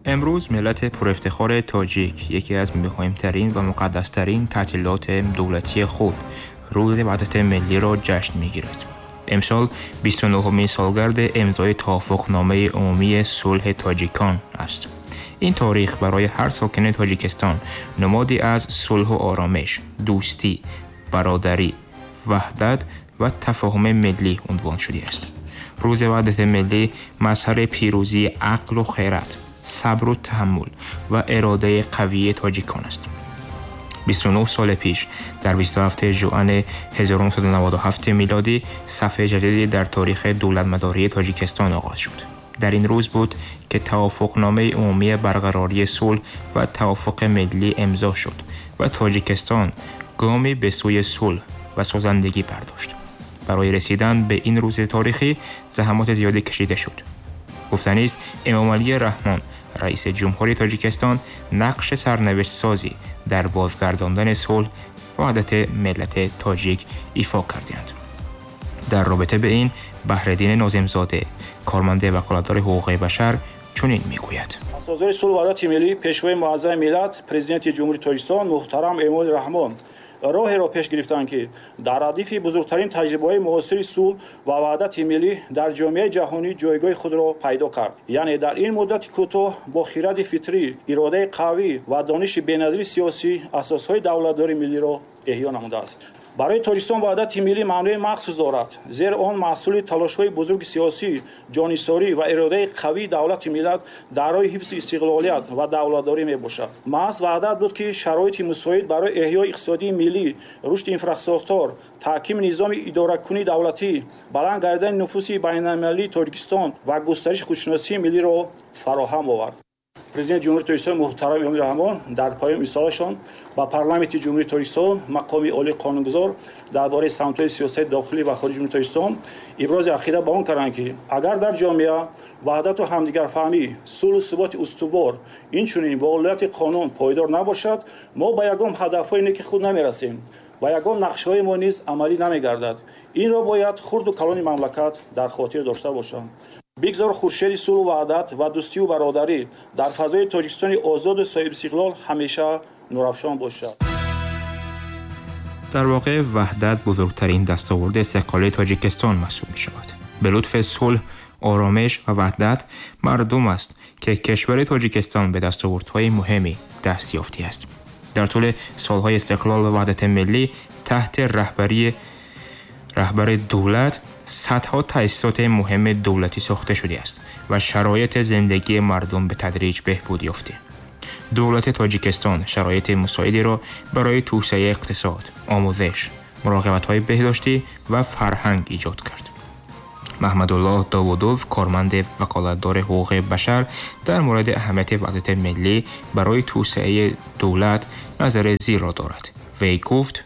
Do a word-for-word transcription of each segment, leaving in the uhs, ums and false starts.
امروز ملت پرافتخار تاجیک یکی از مهمترین و مقدسترین تعطیلات دولتی خود، روز وحدت ملی را جشن می‌گیرد. امسال بیست و نهمین سالگرد امضای توافقنامه عمومی صلح تاجیکان است. این تاریخ برای هر ساکن تاجیکستان نمادی از صلح و آرامش، دوستی، برادری، وحدت و تفاهم ملی عنوان شده است. روز وحدت ملی مظهر پیروزی عقل و خیرت، صبر و تحمل و اراده قوی تاجیکان است. بیست و نه سال پیش در بیست و هفتم ژوئن هزار و نهصد و نود و هفت میلادی صفحه جدیدی در تاریخ دولتمداری تاجیکستان آغاز شد. در این روز بود که توافقنامه عمومی برقراری صلح و توافق ملی امضا شد و تاجیکستان گامی به سوی صلح و سازندگی برداشت. برای رسیدن به این روز تاریخی زحمات زیادی کشیده شد. گفتنی است امامعلی رحمان رئیس جمهوری تاجیکستان نقش سرنوشت سازی در بازگرداندن صلح و وحدت ملت تاجیک ایفا کردند. در رابطه به این بحرالدین ناظمزاده کارمند وکالتدار حقوق بشر چنین میگوید: اساسگذار صلح و وحدت ملی، پیشوای معظم ملت، پرزیدنت جمهوری تاجیکستان محترم امامعلی رحمان роҳеро пеш гирифтанд, ки дар радифи бузургтарин таҷрибаҳои муосири сулҳ ва ваҳдати миллӣ дар ҷомеаи ҷаҳонӣ ҷойгоҳи худро пайдо кард. Яъне дар ин муддати кӯтоҳ бо хиради фитрӣ, иродаи қавӣ ва дониши беназири сиёсӣ асосҳои давлатдории миллиро эҳё намудааст. Барои Тоҷикистон ваҳдати миллӣ маънои махсус дорад, зеро он маҳсули талошҳои бузурги сиёсӣ, ҷонисорӣ ва иродаи қавии давлати миллат дар роҳи ҳифзи истиқлолият ва давлатдорӣ мебошад. Маҳз ваҳдат буд, ки шароити мусоид барои эҳёи иқтисодии миллӣ, рушди инфрасохтор, таҳкими низоми идоракунии давлатӣ, баланд гардидани нуфузи байналмилалии Тоҷикистон ва густариши худшиносии миллиро фароҳам овард. Президенти Ҷумҳурии Тоҷикистон муҳтарам Эмомалӣ Раҳмон дар поёни рисолаашон ба Парламенти Ҷумҳурии Тоҷикистон, мақоми олии қонунгузор дар бораи самтҳои сиёсати дохилӣ ва хориҷии Ҷумҳурии Тоҷикистон ибрози ақида ба он карданд, ки агар дар ҷомеа ваҳдату ҳамдигарфаҳмӣ, сулҳу суботи устувор, инчунин волояти қонун пойдор набошад, мо ба ягон ҳадафҳои неки худ намерасем ва ягон нақшаҳои мо низ амалӣ намегардад. Инро бояд хурду калони мамлакат дар хотир дошта бошанд. Бигзор хуршеди сулҳу ваҳдат ва дӯстию бародарӣ дар фазои Тоҷикистони озоду соҳибистиқлол ҳамеша нурафшон бошад. Дар воқеъ ваҳдат бузургтарин дастоварди истиқлоли Тоҷикистон маҳсуб мешавад. Ба лутфи сулҳ, оромиш ва ваҳдат мардум аст ки кишвари Тоҷикистон ба дастовардҳои муҳиме даст ёфтааст. Дар тӯли солҳои истиқлол ва ваҳдати миллӣ таҳти раҳбарии раҳбари давлат садҳо таъсисоти муҳими давлатӣ сохта шудааст ва шароити зиндагии мардум ба тадриҷ беҳбуд ёфта. Давлати Тоҷикистон шароити мусоидеро барои توسعه иқтисод, омӯзиш, муроқибатҳои беҳдоштӣ ва фарҳанг эҷод кард. Маҳмадуллоҳ Довудов, корманди ваколатдори ҳуқуқи башар, дар мавриди аҳамияти ваҳдати миллӣ барои توسعه давлат назари зерро дорад. Вей гуфт: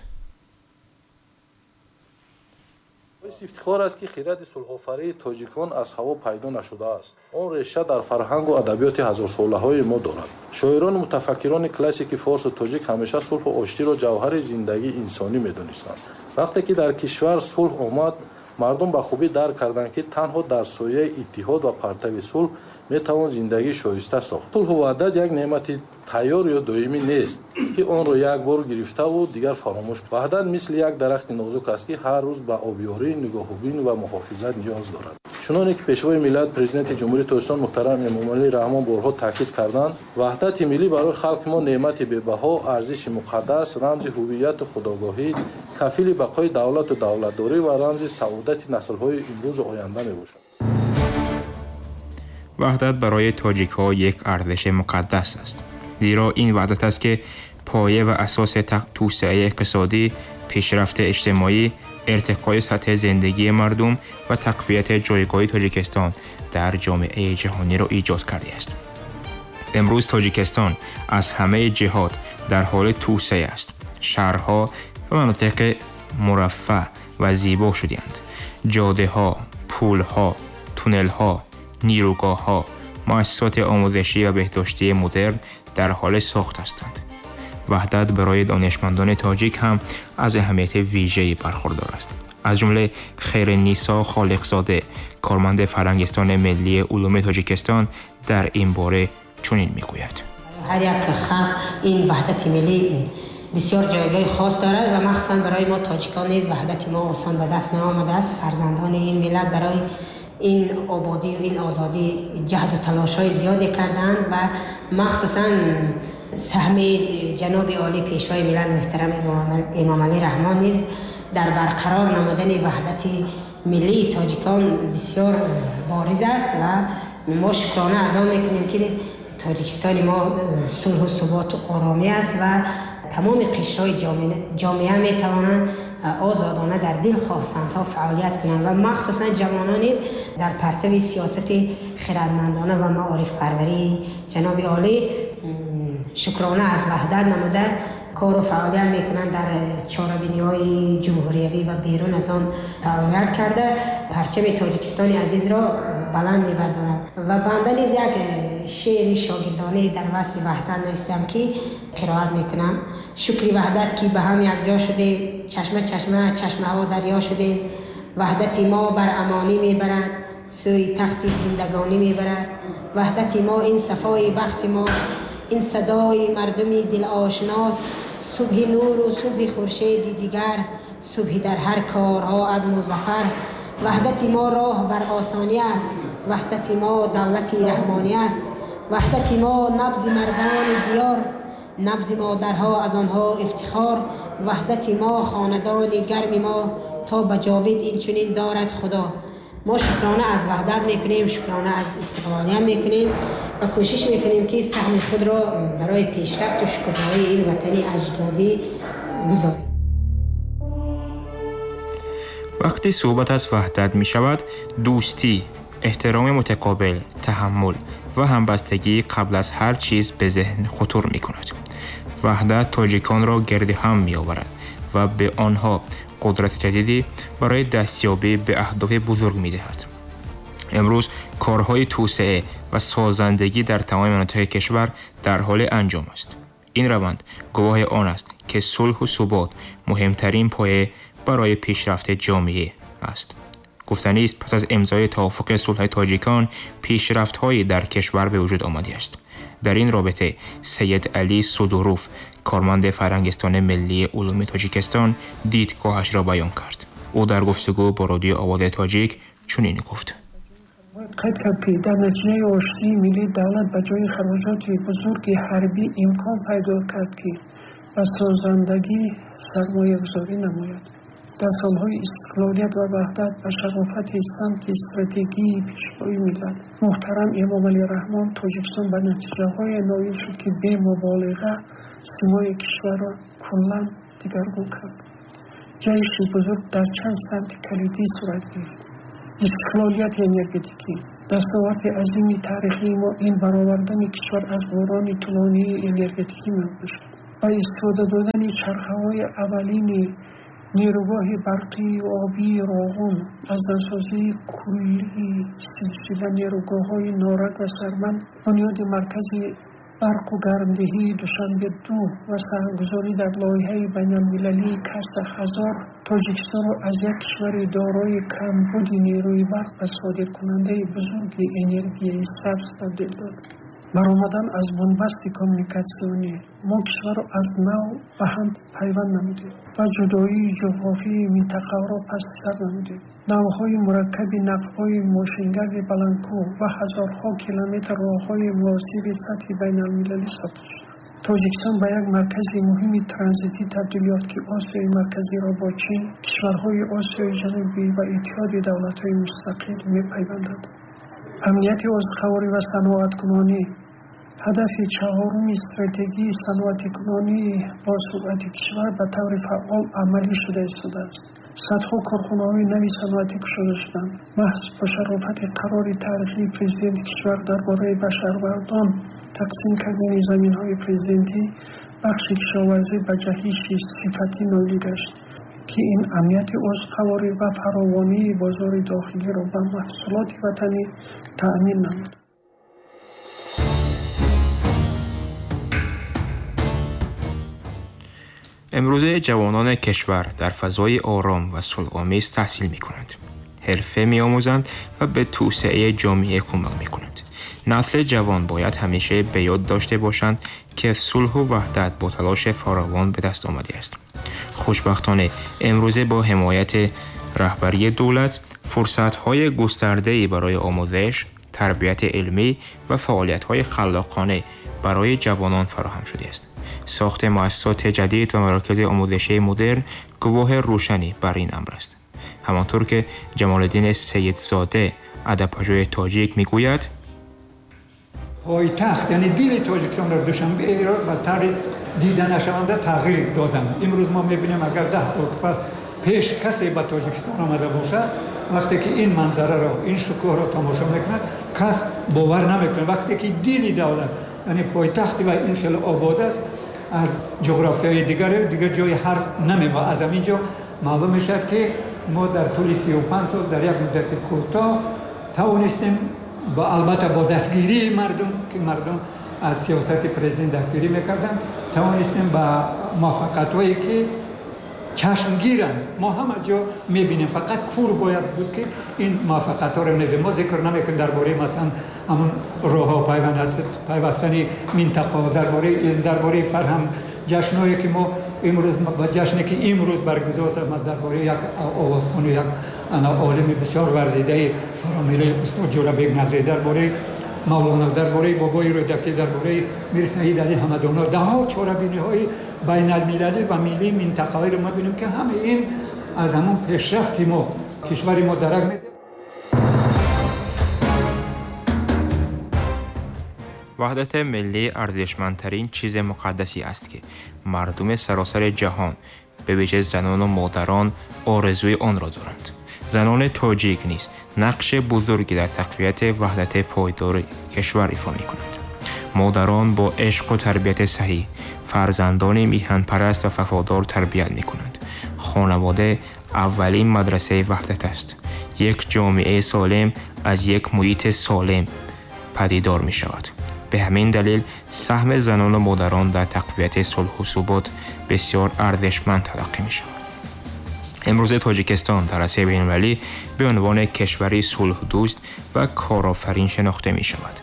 ифтихор аст, ки хиради сулҳофарии тоҷикон аз ҳаво пайдо нашудааст. Он реша дар фарҳангу адабиёти ҳазорсолаҳои мо дорад. Шоирону мутафаккирони классики форсу тоҷик ҳамеша сулҳу оштиро ҷавҳари зиндагии инсонӣ медонистанд. Вақте ки дар кишвар сулҳ омад, мардум ба хубӣ дарк карданд, ки танҳо дар сояи иттиҳод ва партави сулҳ метавон зиндагии шоиста сохт. Сулҳу ваҳдат як неъмати тайёр ё доимӣ нест, ки онро як бор гирифтаву дигар фаромӯш. Ваҳдат мисли як дарахти нозук аст, ки ҳар рӯз ба обёрӣ, нигоҳубин ва муҳофизат ниёз дорад. Чуноне ки Пешвои миллат, Президенти Ҷумҳурии Тоҷикистон муҳтарам Эмомалӣ Раҳмон борҳо таъкид карданд, ваҳдати миллӣ барои халқи мо неъмати бебаҳо, арзиши муқаддас, рамзи ҳувияту худогоҳӣ, кафили бақои давлату давлатдорӣ ва рамзи саодати наслҳои имрӯзу оянда мебошад. Ваҳдат барои тоҷикҳо як арзиши муқаддас аст, зеро ин ваҳдат аст, ки поя ва асоси توسعه иқтисодӣ, пешрафти иҷтимоӣ, иртиқои сатҳи зиндагии мардум ва тақвияти ҷойгоҳи Тоҷикистон дар ҷомеаи ҷаҳониро эҷод кардааст. Имрӯз Тоҷикистон аз ҳамаи ҷиҳат дар ҳоли توسعه аст. Шаҳрҳо ва манотиқи мураффаъ ва зебо шудаанд. Ҷодаҳо, пулҳо, туннелҳо, нерӯгоҳҳо, муассисоти омӯзишӣ ва беҳдоштии модерн дар ҳоли сохт ҳастанд. Ваҳдат барои донишмандони тоҷик ҳам аз аҳамияти вижае бархурдор аст. Аз ҷумла Хайриннисо Холиқзода, корманди Фарҳангистони миллии улуми Тоҷикистон, дар ин бора чунин мегӯяд. Ҳар як халқ ин ваҳдати миллӣ бисёр ҷойгоҳи хос дорад ва махсусан барои мо тоҷикон низ ваҳдати мо осон ба даст наомадааст. Фарзандони ин миллат барои ин ободӣ ва ин озодӣ ҷаҳду талошҳои зиёде карданд ва махсусан саҳми ҷаноби олӣ пешвои миллат муҳтарам Эмомалӣ Раҳмон низ дар барқарор намудани ваҳдати миллии тоҷикон бисёр бориз аст ва мо шукрона аз он мекунем, ки Тоҷикистони мо сулҳу суботу оромӣ аст ва тамоми қишрҳои ҷомеа метавонанд озодона дар дилхоҳ самтҳо фаъолият кунанд ва махсусан ҷавонон низ дар партави сиёсати хирадмандона ва маорифпарварии ҷаноби олӣ шукрона аз ваҳдат намуда кору фаъолият мекунанд, дар чорабиниҳои ҷумҳуриявӣ ва берун аз он фаъолият карда парчами Тоҷикистони азизро баланд мебардоранд. Ва банда низ як шеъри шогирдонае дар васфи ваҳдат навиштам, ки қироат мекунам. Шукри ваҳдат, ки ба ҳам якҷо шудем, чашма чашма чашмаҳо дарё шудем. Ваҳдати мо бар амонӣ мебарад, сӯи тахти зиндагонӣ мебарад. Ваҳдати мо ин сафои бахти мо, ин садои мардуми дилошност. Субҳи нуру субҳи хуршеди дигар, субҳи дар ҳар корҳо аз музаффар. Ваҳдати мо роҳ бар осонӣ аст, ваҳдати мо давлати раҳмонӣ аст. Ваҳдати мо набзи мардони диёр, набзи модарҳо аз онҳо ифтихор. Ваҳдати мо хонадони гарми мо, то ба ҷовид инчунин дорад Худо. Мо шукрона аз ваҳдат мекунем, шукрона аз истиқлолият мекунем ва кӯшиш мекунем, ки саҳми худро барои пешрафту шукуфоии ин ватани аҷдодӣ гузорем. Вақте суҳбат аз ваҳдат мешавад, дӯстӣ, эҳтироми мутақобил, таҳаммул ва ҳамбастагӣ қабл аз ҳар чиз ба зеҳн хутур мекунад. Ваҳдат тоҷиконро гирди ҳам меоварад ва ба онҳо қудрати ҷадиде барои дастёбӣ ба аҳдофи бузург медиҳад. Имрӯз корҳои توسعه ва созандагӣ дар тамоми минтақаи кишвар дар ҳоли анҷом аст. Ин раванд гувоҳи он аст, ки сулҳу субот муҳимтарин поя барои пешрафти ҷомеа аст. Гуфтанист, пас аз имзои тавофуқи сулҳи тоҷикон пешрафтҳое дар кишвар ба вуҷуд омадааст. Дар ин робита Сайид Алӣ Судуров, корманди Фарҳангистони миллии улуми Тоҷикистон, дидгоҳашро баён кард. Ӯ дар гуфтугӯ бо Радиои Овози Тоҷик чунин гуфт. Бояд қайд кард, ки дар натиҷаи оштии миллӣ давлат ба ҷои хароҷоти бузурги ҳарбӣ имкон пайдо кард, ки ба созандагӣ сармоягузорӣ намояд. Дар солҳои истиқлолият ва ваҳдат ба шарофати самти стратегии пешвои миллат муҳтарам Эмомалӣ Раҳмон Тоҷикистон ба натиҷаҳое ноил шуд, ки бемуболиға симои кишварро куллан дигаргун кард. Ҷаҳиши бузург дар чанд самти калидӣ сурат гирифт. Истиқлолияти энергетикӣ. Дастоварди азими таърихии мо ин баровардани кишвар аз буҳрони тӯлонии энергетикӣ мебошад. Ба истифода додани чархаҳои аввалини нерӯгоҳи барқии обии Роғун, аз навсозии куллии силсила нерӯгоҳҳои Норак ва Сарманд, бунёди маркази барқу гармдиҳии Душанбе ду ва саҳмгузорӣ дар лоиҳаи байналмилалии Каса ҳазор Тоҷикистонро аз як кишвари дорои камбуди нерӯи барқ ба содиркунандаи бузурги энергияи сабз табдил дод. Баромадан аз бунбасти коммуникатсионӣ мо кишварро аз нав ба ҳам пайванд намудем ва ҷудоии ҷуғрофии минтақаро паси сар намудем. Навъҳои мураккаби нақбҳои мошингарди баландкӯҳ ва ҳазорҳо километр роҳҳои муосири сатҳи байналмилалӣ сохта шуданд. Тоҷикистон ба як маркази муҳими транзитӣ табдил ёфт, ки Осиёи Марказиро бо Чин, кишварҳои Осиёи Ҷанубӣ ва Иттиҳоди давлатҳои мустақил мепайвандад. Амнияти озуқаворӣ ва саноаткунонӣ. Ҳадафи чаҳоруми стратегии саноатикунонии босуръати кишвар ба таври фаъол амалӣ шуда истодааст. Садҳо корхонаҳои нави саноатӣ кушода шуданд. Маҳз бо шарофати қарори таърихии президенти кишвар дар бораи ба шаҳрвандон тақсим кардани заминҳои президентӣ, бахши кишоварзӣ ба ҷаҳиши сифатӣ ноил гашт, ки ин амнияти озуқаворӣ ва фаровонии бозори дохилиро ба маҳсулоти ватанӣ таъмин намуд. Имрӯзе ҷавонони кишвар дар фазои ором ва сулҳомез таҳсил мекунанд, ҳирфа меомӯзанд ва ба توسعه ҷомеа кӯмак мекунанд. Насли ҷавон бояд ҳамеша ба ёд дошта бошанд, ки сулҳу ваҳдат бо талоши фаровон ба даст омадааст. Хушбахтона, имрӯза бо ҳимояти раҳбарии давлат фурсатҳои густардае барои омӯзиш, тарбияти илмӣ ва фаъолиятҳои халлоқона барои ҷавонон фароҳам шудааст. Сохти муассисоти ҷадид ва марокизи омӯзишии модерн гувоҳи рӯшанӣ бар ин амр аст. Ҳамонтавр ки Ҷамолиддин Сайидзода, адабпажӯҳи тоҷик, мегӯяд: пойтахт, яъне дили Тоҷикистонро, Душанберо ба таври дида нашаванда тағйир доданд. Имрӯз мо мебинем, агар даҳ сол пас пеш касе ба Тоҷикистон омада бошад, вақте ки ин манзараро, ин шукӯҳро тамошо мекунад, кас бовар намекунад. Вақте ки дили давлат, яъне пойтахти ва ин хеле обод аст, аз ҷуғрофиёи дигар дигар ҷои ҳарф намемонад. Аз ҳамин ҷо маълум мешавад, ки мо дар тӯли сию панҷ сол дар як муддати кӯтоҳ тавонистем, албатта бо дастгирии мардум, ки мардум аз сиёсати президент дастгирӣ мекарданд, тавонистем ба муваффақиятҳое ки чашмгиранд, мо ҳама ҷо мебинем. Фақат кур бояд буд, ки ин муваффақиятҳоро мебинем. Мо зикр намекунем дар бораи масалан ҳамон роҳҳо, пайвастани минтақаҳо, дар бораи илм, дар бораи фарҳанг, ҷашнҳое ки мо имрӯз ба ҷашне ки имрӯз баргузор шуд, дар бораи як овозхон, як олими бисёр варзидаи фаромиллии устод Ҷӯрабек Назарӣ, дар бораи Мавлоно, дар бораи Бобои Рӯдакӣ, дар бораи Мирсаид Алӣ Ҳамадоно, даҳҳо чорабиниҳои байналмилалӣ ва миллии минтақавиро мо бинем, ки ҳама ин аз ҳамон пешрафти мо, кишвари мо дарак медиҳад. Ваҳдати миллӣ арзишмандтарин чизи муқаддасе аст, ки мардуми саросари ҷаҳон, ба вижа занону модарон, орзуи онро доранд. Занони тоҷик низ нақши бузурге дар тақвияти ваҳдати пойдори кишвар ифо мекунанд. Модарон бо ишқу тарбияти саҳеҳ фарзандони миҳанпараст ва вафодор тарбият мекунанд. Хонавода аввалин мадрасаи ваҳдат аст. Як ҷомеаи солим аз як муҳити солим падидор мешавад. Ба ҳамин далел саҳми занону модарон дар тақвияти сулҳу субот бисёр арзишманд талаққӣ мешавад. Имрӯз Тоҷикистон дар арсаи байналмилалӣ ба унвони кишвари сулҳдӯст ва корофарин шинохта мешавад.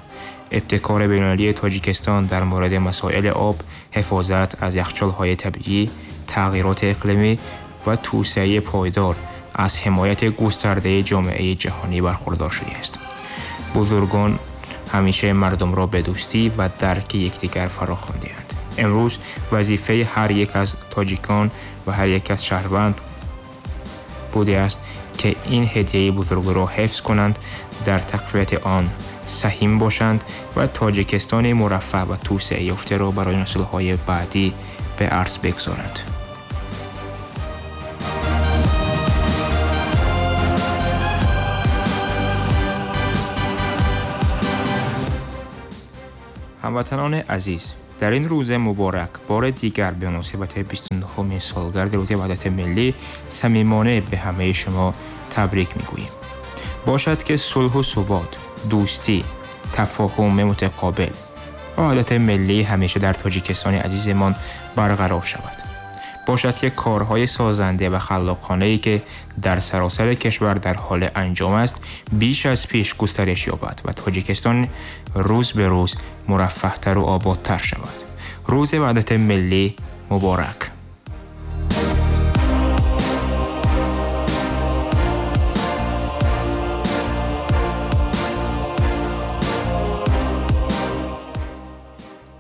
Ибтикори байналмилалии Тоҷикистон дар мавриди масоили об, ҳифозат аз яхчолҳои табиӣ, тағйироти иқлимӣ ва توسعه پایدار از حمایت گسترده جامعه جهانی برخوردار شده است. بزرگان همیشه مردم را به دوستی و درک یکدیگر فراخوانده‌اند. امروز وظیفه هر یک از تاجیکان و هر یک از شهروند بوده است که این هدیه بزرگ را حفظ کنند، در تقویت آن سهیم باشند و تاجیکستان مرفه و توسعه یافته را برای نسل‌های بعدی به ارث بگذارند. هموطنان عزیز، در این روز مبارک بار دیگر به مناسبت بیست و نهمین سالگرد روز وحدت ملی صمیمانه به همه شما تبریک میگوییم. باشد که صلح و ثبات، دوستی، تفاهم متقابل و وحدت ملی همیشه در تاجیکستان عزیزمان برقرار شود. باشد که کارهای سازنده و خلاقانه‌ای که در سراسر کشور در حال انجام است بیش از پیش گسترش یابد و تاجیکستان روز به روز مرفه‌تر و آبادتر شود. روز وحدت ملی مبارک.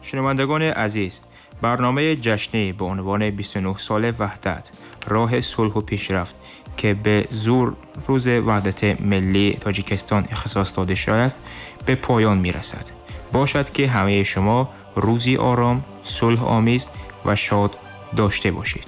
شنوندگان عزیز، برنامه جشنی به عنوان بیست و نه سال وحدت، راه صلح و پیشرفت که به زور روز وحدت ملی تاجیکستان اختصاص داده شده است به پایان می رسد. باشد که همه شما روزی آرام، صلح آمیز و شاد داشته باشید.